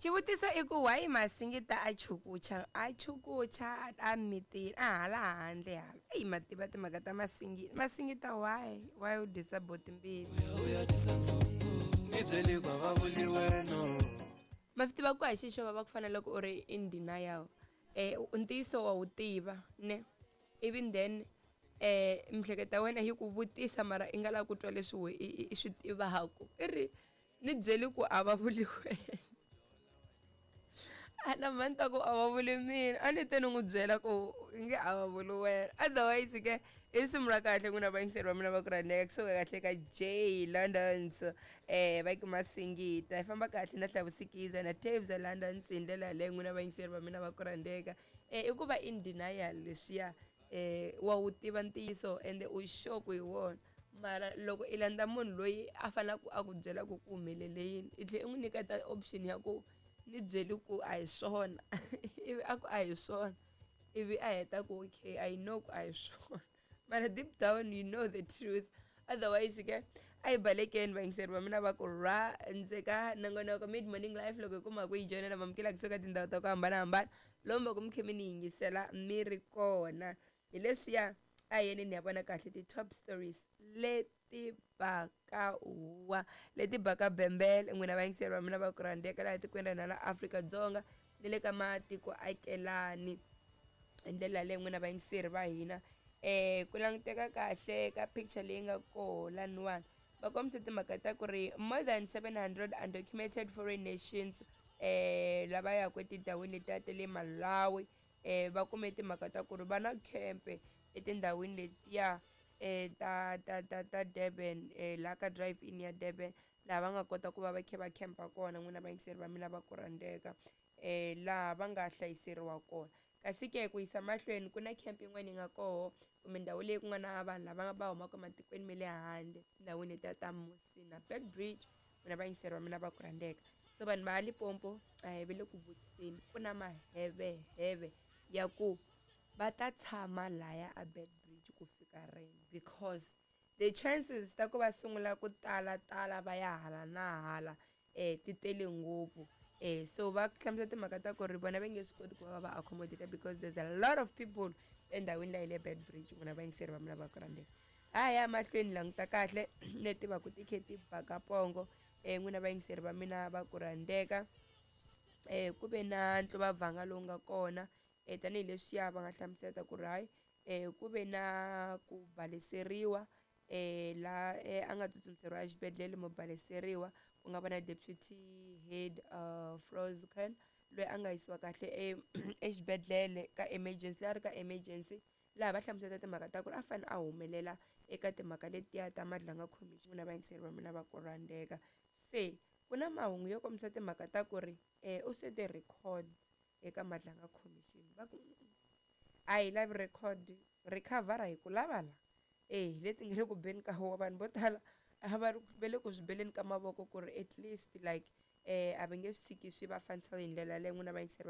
Xivutiso i ku why Masingita a chukucha a chukucha a mitini a hala handle hala eyi ma tiva timhaka ta Masingita Masingita why u dyisa boti mbilu uya dyisa ndzungu ni byeli kwa va vuli wena ma swi tiva ku a hi xixo va va ku fana loko u ri in denial ntiyiso wa wu tiva ne even then miehleketo ya wena yi ku vutisa mara i nga lavi ku twa leswi we i swi tivaku i ri ni byeli ku a va vuli wena a na mhani ta ku a va vuli mina a ni te ni n'wi byela ku nge a va vuli wena otherwise ke i risimu ra kahle n'wina vayingiseri va mina va ku rhandzeka kusuka kahle ka J Londons va ku Masingita hi famba kahle na Hlavusikiza na Tabes Londons hi ndlela yaleyo n'wina vayingiseri va mina va ku rhandzeka i ku va in denial leswiya wa wu tiva ntiyiso ende u sure ku hi wona mara loko i landza munhu loyi a faneleke a ku byela ku ku humelele yini i tlhela i n'wi nyiketa option ya ku ni byeli ku a hi swona ivi a ku a hi swona ivi a heta ku okay I know ku a hi swona mara deep down you know the truth otherwise ke a hi balekeni vayingiseri va mina va ku rhandzeka nongonoko mid morning life loko hi kuma ku yi joyinela mamukela kusuka tindhawu ta ku hambanahambana lomu va ku mi khe mi ni yingisela mi ri kona hi leswiya a hi yeni ni ya vona kahle ti-top stories leti baka huwa leti baka bembele n'wina vayingiseri va mina va ku rhandzeka laha tikweni ra hina la Afrika-Dzonga ni le ka matiko akelani hi ndlela yaleyo n'wina vayingiseri va hina ku languteka kahle ka picture leyi nga koho laniwani va kombise timhaka ta ku ri more than 700 undocumented foreign nations lava yaka etindhawini letiya ta le Malawi va kume timhaka ta ku ri va na khempe etindhawini letiya ta ta ta ta Durban laha ka drive in ya Durban laha va nga kota ku va va kha va camp-a kona n'wina vayingiseri va mina va ku rhandzeka laha va nga hlayiseriwa kona kasi ke ku yisa mahlweni ku na camp yin'wana yi nga koho kumbe ndhawu leyi ku nga na vanhu lava va humaka ematikweni ma le handle tindhawini letiya ta Musina Beitbridge n'wina vayingiseri va mina va ku rhandzeka so vanhu va Limpopo a hi ve le ku vutiseni ku na maheveheve ya ku va ta tshama laya a Beitbridge ku fika rini because the chances ta ku va sungula ku tala tala va ya hala na hala ti tele ngopfu so va hlamusela timhaka ta ku ri vona va nge swi koti ku va va accommodate because there's a lot of people endhawini leyi le Beitbridge n'wina vayingiseri va mina va ku rhandzeka a ya mahlweni languta kahle leti va ku ti khe ti baka pongo n'wina vayingiseri va mina va ku rhandzeka ku ve na ntluvavhanga lowu nga kona tanihileswiya va nga hlamusela ku ri hayi ku ve na ku baleseriwa la a nga tsutsumiseriwa exibedhlele mo baleseriwa ku nga va na deputy head Frozcan loyi a nga yisiwa kahle exibedhlele ka emergency loyi a ri ka emergency laha va hlamusela timhaka ta ku ri a fanele a humelela eka timhaka letiya ta Madlanga Commission n'wina vayingiseri va mina va ku rhandzeka se ku na mahungu yo kombisa timhaka ta ku ri u sete record eka Madlanga Commission va ku a hi lavi record recover hi ku lava la hi leti nga le ku beni ka huwa vanhu vo tala a va ri va le ku swi beleni ka mavoko ku ri at least like a va nge swi tshiki swi va fanisa hi ndlela yaleyo n'wina vayingiseri.